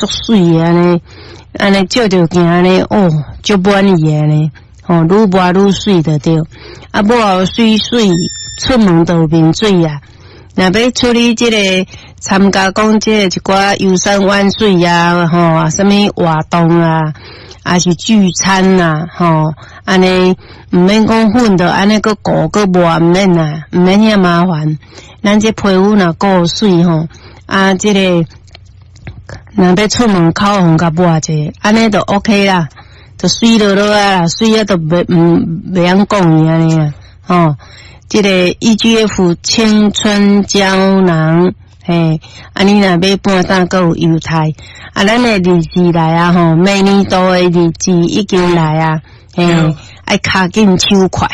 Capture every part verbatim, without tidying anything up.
足媠的按呢，按呢照著鏡按呢，哦，足滿意的按呢，吼，愈抹愈媠就對。啊，抹予媠媠，出門就有面水啊。若欲出去這個參加講這個一寡遊山玩水啊，吼，啊，啥物活動啊，抑是聚餐啊，吼，按呢毋免講粉著按呢閣顧閣抹，毋免啊，毋免遐麻煩。咱這皮膚若顧媠吼，啊，這個若欲出門口紅共抹者，按呢就 OK 啦，就媠落落啊啦，媠啊都袂毋袂曉講伊按呢啊，吼。這個 E G F 青春膠囊，嘿，啊，你若買半打閣有優待，啊，咱的日子來啊吼，每年度的日子已經來啊，嘿，愛跤緊手快，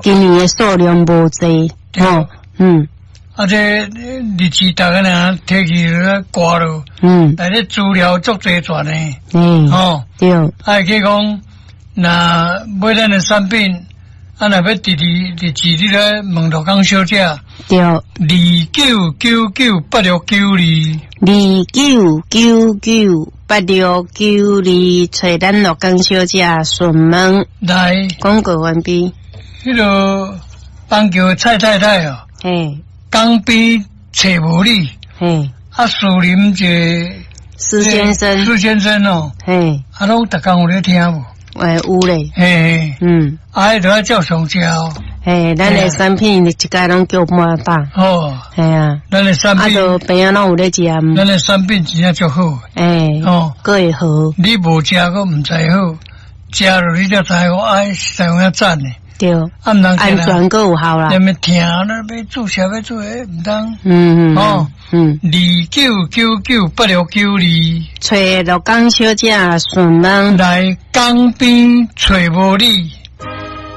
今年的數量無濟，吼，嗯，啊，這日子逐家爾提起來掛落，嗯，但是資料足齊全的，嗯，吼，對，啊，去講，若買咱的產品。啊！若欲佇佇佇佇你咧問陸江小姐，對，二九九九八六九二，二九九九八六九二，揣咱陸江小姐詢問。來，廣告完畢。彼个板橋蔡太太哦，嘿，江邊揣無你，嘿，啊，樹林一个施先生，施先生哦，嘿，啊，攏逐工有咧聽無？欸，有咧，嘿，嗯，啊，彼著愛照常食哦。嘿，咱的產品一概攏叫半打。哦，嘿啊，咱的產品，啊，都病仔攏有咧食。咱的產品真正足好。欸，哦，閣會好。你無食閣毋知好，食落你才知講，哎，實在有影讚的。對，啊，毋通安全閣有效啦。啥物疼，那欲注射欲做彼毋通。嗯嗯。哦，嗯。二九九九八六九二。揣陸江小姐詢問。來江邊揣無你。